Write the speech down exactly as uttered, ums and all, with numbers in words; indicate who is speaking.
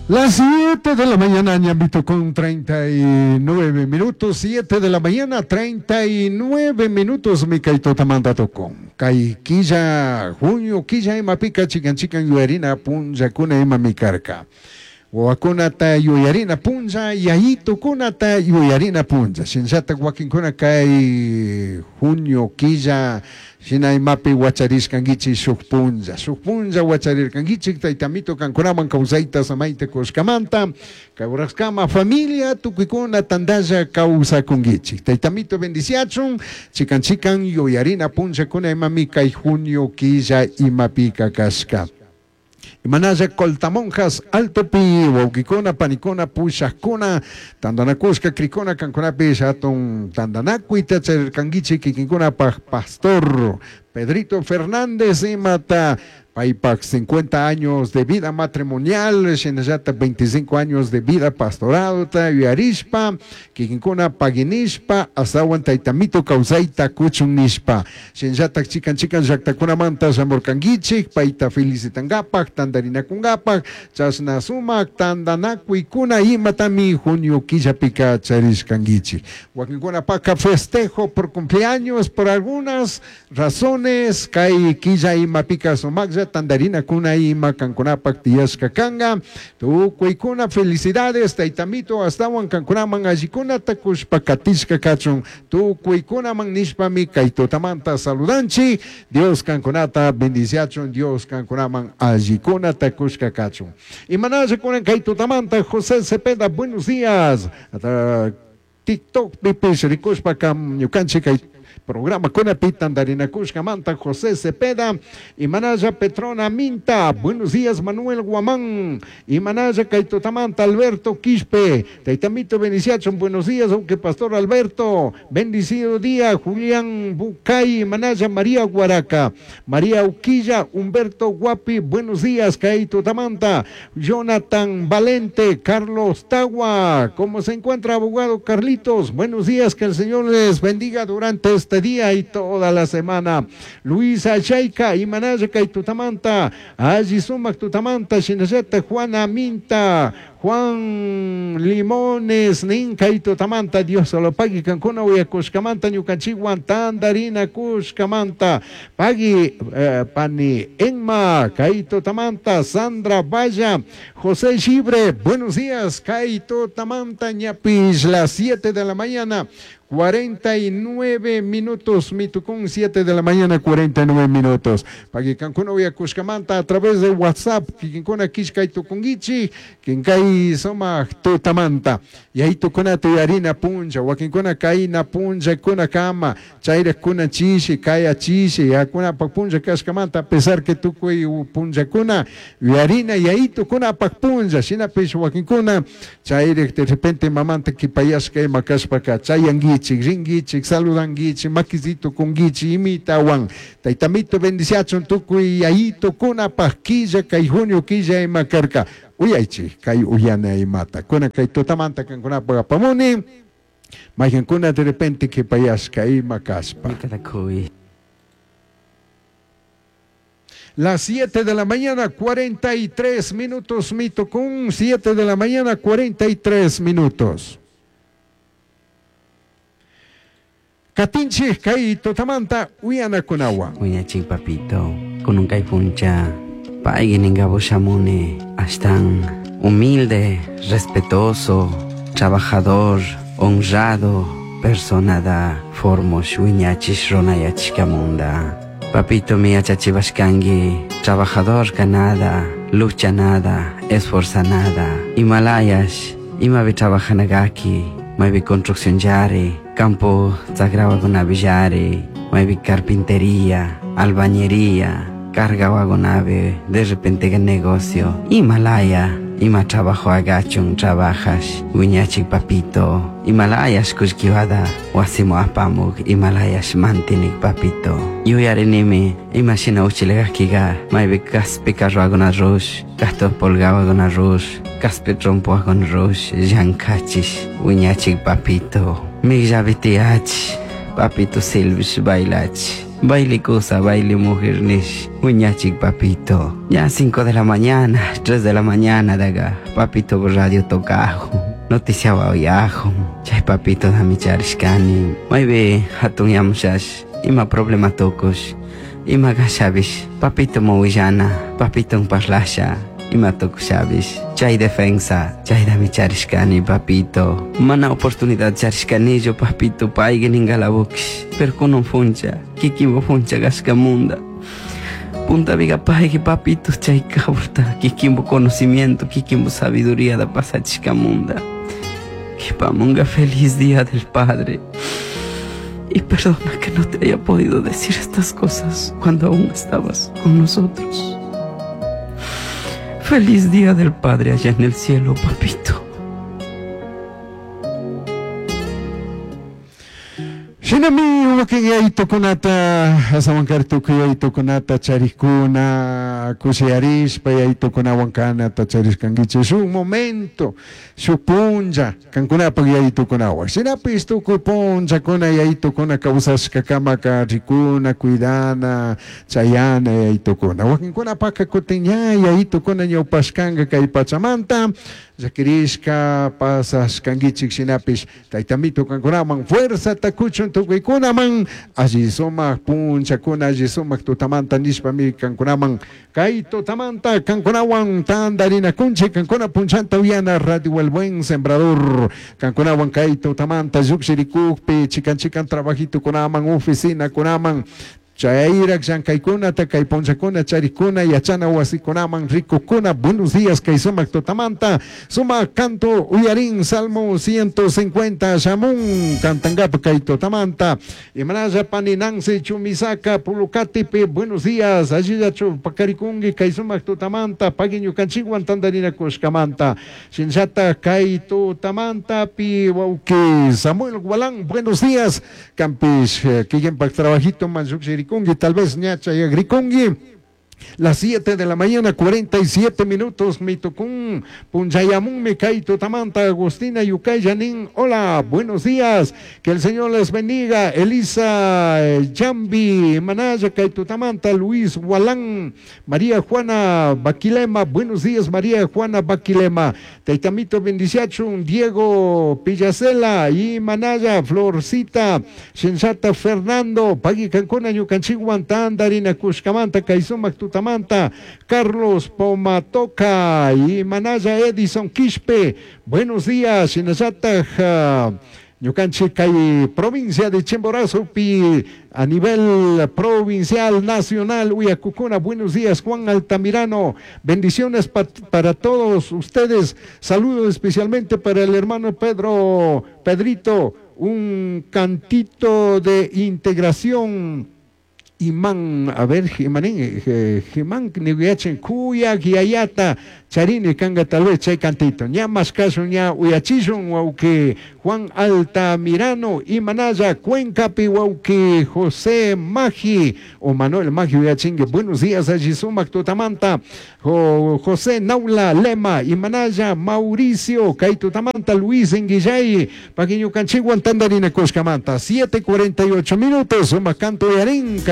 Speaker 1: Las siete de la mañana, Ñambito, con treinta y nueve minutos. siete de la mañana, treinta y nueve minutos, mi kaitotamanta tocón. Kay quilla, junio, quilla imapika, chikan chikan yuyarina punllakuna ima mikarka. Wawakunata yuyarina punlla, yayitukunata yuyarina punlla. Shinllatak wakinkuna kay junio, quilla, shina imapi wachariskankichik shuk punlla, shuk punlla wacharirkankichik taytamito kankunaman kawsayta samayta kushkamanta, kawraskama familia tukuykuna tantalla kawsakunkichik. Taytamito bendiciachun, chikan chikan yuyarina punllakuna imami kay junio quilla imapika kashka. Imanalla Coltamonjas, Altopi, wawqikuna, panikuna, pushaqkuna, tantanakushka, krikuna, kankunapish hatun tantanakuyta charirkankichik kikinkunapaj pastor Pedrito Fernández imata paypaj cincuenta años de vida matrimonial, shinallata veinticinco años de vida pastoralta yuyarishpa, kikinkuna paginishpa, astawan taytamito kawsayta kuchun nishpa. Shinallata chikan chikan llaktakunamanta shamurkankichik, payta felicitankapaj, tantarinakunkapaj, chashna sumak tantanakuykuna imatami junio quillapika charishkankichik. Wakinkunapaka festejo por cumpleaños, por algunas razones, kay quilla imapika sumaklla tandarina kuna ima kankunapak tiyashka kanga. Tukuykuna felicidades taytamito astawan kankunaman allikuna takushpa katishka kachun. Tukuykunaman nishpami kay tutamanta saludanchi. Dios kankunata bendiciachun, Dios kankunaman allikuna takushka kachun. Imanalla kunan kay tutamanta José Cepeda, buenos días. Ata TikTok pipish rikushpa kam ñukanchik kay programa kunapi tantarinakushkamanta José Cepeda, Imanalla Petrona Minta, buenos días Manuel Guamán, Imanalla Kaitotamanta Alberto Quispe, Taitamito Beniciachon, buenos días, aunque Pastor Alberto, bendecido día, Julián Bucay, Imanalla María Guaraca, María Uquilla, Humberto Guapi, buenos días, Kaitotamanta, Jonathan Valente, Carlos Tagua, ¿cómo se encuentra abogado Carlitos? Buenos días, que el Señor les bendiga durante este día y toda la semana. Luisa Chayka, Imanaya Kaitutamanta, Aji Sumak Tutamanta, Shinayata, Juana Minta, Juan Limones, Ninka Itutamanta, Dios lo pague, Cancuna, Uyakushkamanta, Ñukanchiwan, Tandarina, Kushkamanta, Pagui, eh, Pani Enma, Kaitutamanta, Sandra Valla, José Gibre, buenos días, Kaitutamanta, Ñapis, las siete de la mañana, cuarenta y nueve minutos, Mitucún, siete de la mañana, cuarenta y nueve minutos. Pagui Cancuna, Uyakushkamanta, a través de WhatsApp, Kikinkuna, Kishka, Itucunguichi, Kinkai, Soma, Tutamanta. Y ahí tucuna tuyarina puncha, wakinkuna kaina puncha, kuna kama, chaira kuna chishi, kaya chishi, akuna pak puncha kashkamanta, a pesar que tukuy puncha kuna, yarina, y ahí tucuna pak puncha, shina pish wakinkuna, chaira de repente mamanta kipayashka ima kashpaka, chayanguichi, ringuichi, saludanguichi, maquisito kunguichi, imitawan, taitamito bendiciachon tukuy, ahí tucuna pak quilla, kay junio quilla ima karka. Uyaychi, kay uyana imata. Kuna kay tutamanta kankunapa apamuni, mayankuna de repente que payashka ima kaspa. Las siete de la mañana, cuarenta y tres minutos, Mitocún, siete de la mañana, cuarenta y tres minutos. Katinchi, kay tutamanta, uyana kunawa.
Speaker 2: Uyachi, papito, con un kaipuncha. Paigininga shamune, astan humilde, respetuoso, trabajador, honrado, persona da formos wiñachis ronayachkamunda. Papito mi achachivashkangi, trabajador ganada, lucha nada, esforza nada. Himalayas, imavi trabajanagaki, maybe construcción yari, campo sagrado maybe carpintería, albañería. Carga wagonave, de repente que negocio. Himalaya, ima trabajo agachun, trabajas, wiñachik papito. Himalayas kushkiwada, wasimo apamuk, Himalayas mantinik papito. Yuyarinimi, imashina uchilegakiga, maybe kaspi carro agona rush, gasto polgao agona rush, kaspi trompo agona rush, yankachis, wiñachik papito. Migjavitiach, papito silvish bailach. Baile cosa, baile mujer nish. Uñachik papito. Ya cinco de la mañana, tres de la mañana daga. Papito radio tocajo. Noticia oyajo. Chay papito dami charishkani. Maybe hatun yamushash. Ima problema tokush. Ima gashabish. Papito mawillana. Papito parlasha. Ima tokushabish. Chay defensa. Chay dami charishkani papito. Mana oportunidad charishkaniyo papito payga ningalabukish. Pero kunan funcha. Kikimbo funcha gashkamunda. Punta viga paygi papito chay kaburta. Kikimbo conocimiento, kikimbo sabiduría da pasachishkamunda. Kipamunga feliz día del padre. Y perdona que no te haya podido decir estas cosas cuando aún estabas con nosotros. Feliz día del Padre allá en el cielo, papito.
Speaker 1: Shinami wakin yaytukunata asawankari tukuy yaytukunata charikuna kushiyarishpa yaytukunawan kanata charishkankichik shuk momento shuk punlla kankunapak yaytukunawan shinapish tukuy punllakuna yaytukuna kawsashkakamaka rikuna cuidana chayana yaytukuna wakinkunapaka kutin ña yaytukuna ñawpashkanka kay pachamanta llakirishka pasashkankichik shinapish taytamito kankunaman fuerzata kuchun tukuykunaman alli sumak punchakuna alli sumak tutamanta nishpami kankunaman kay tutamanta kankunawan tantarinakunchik kankuna punchanta uyana Radio El Buen Sembrador kankunawan kay tutamanta llukshirikukpi chikan chikan trabajitukunaman oficinakunaman chayrak llankaykunata kay punchakuna charikuna yachana wasikunaman rikukuna buenos días kay sumak tutamanta sumak canto uyarin salmo ciento cincuenta shamun cantangapa kay tutamanta imanalla pani Nancy Chumisaka Pulucatipi buenos días allillachu pakarikunki kay sumak tutamanta pagui ñukanchikwan tantarinakushkamanta shinllata kay tutamanta pi wawki Samuel Gualán buenos días kampish kikinpak trabajito man llukshiri tal vez ñacha y agrikungi. Las siete de la mañana, cuarenta y siete minutos, mitokun, punchayamun, me kaito tamanta, Agustina Yucayanin, hola, buenos días, que el Señor les bendiga, Elisa Yambi, Manaya, Kaito Tamanta, Luis Gualán, María Juana Baquilema, buenos días, María Juana Baquilema, Taitamito Bendiciachun, Diego Pillacela, y Manaya, Florcita, Sensata Fernando, Pagui Cancuna, Yucanchiguan, Tandarina, Cushcamanta, Kaisumac, Tutamanta, Carlos Pomatoca y Manaya Edison Quispe. Buenos días, Shinazata, Ñukanchik kay provincia de Chimborazo, pi a nivel provincial, nacional, Uyacucuna. Buenos días, Juan Altamirano. Bendiciones pa para todos ustedes. Saludos especialmente para el hermano Pedro, Pedrito, un cantito de integración. Imán, a ver, Jimanín, Jimán, Niguiachen, Cuya, Guiayata, Charini, Kanga, tal vez, chay cantito. Ña más caso, ña Uyachillon, Wauque, Juan Altamirano, Imanaya, Cuenca, Pihuauque, José Magi, o Manuel Magi, Uyachingue. Buenos días, allí Sumac, Tutamanta, jo, José Naula, Lema, Imanaya, Mauricio, Kaitutamanta, Luis Enguillay, Paquiño Canchiguan, Tandarina, Coscamanta, siete cuarenta y ocho minutos, Sumacanto y Arín,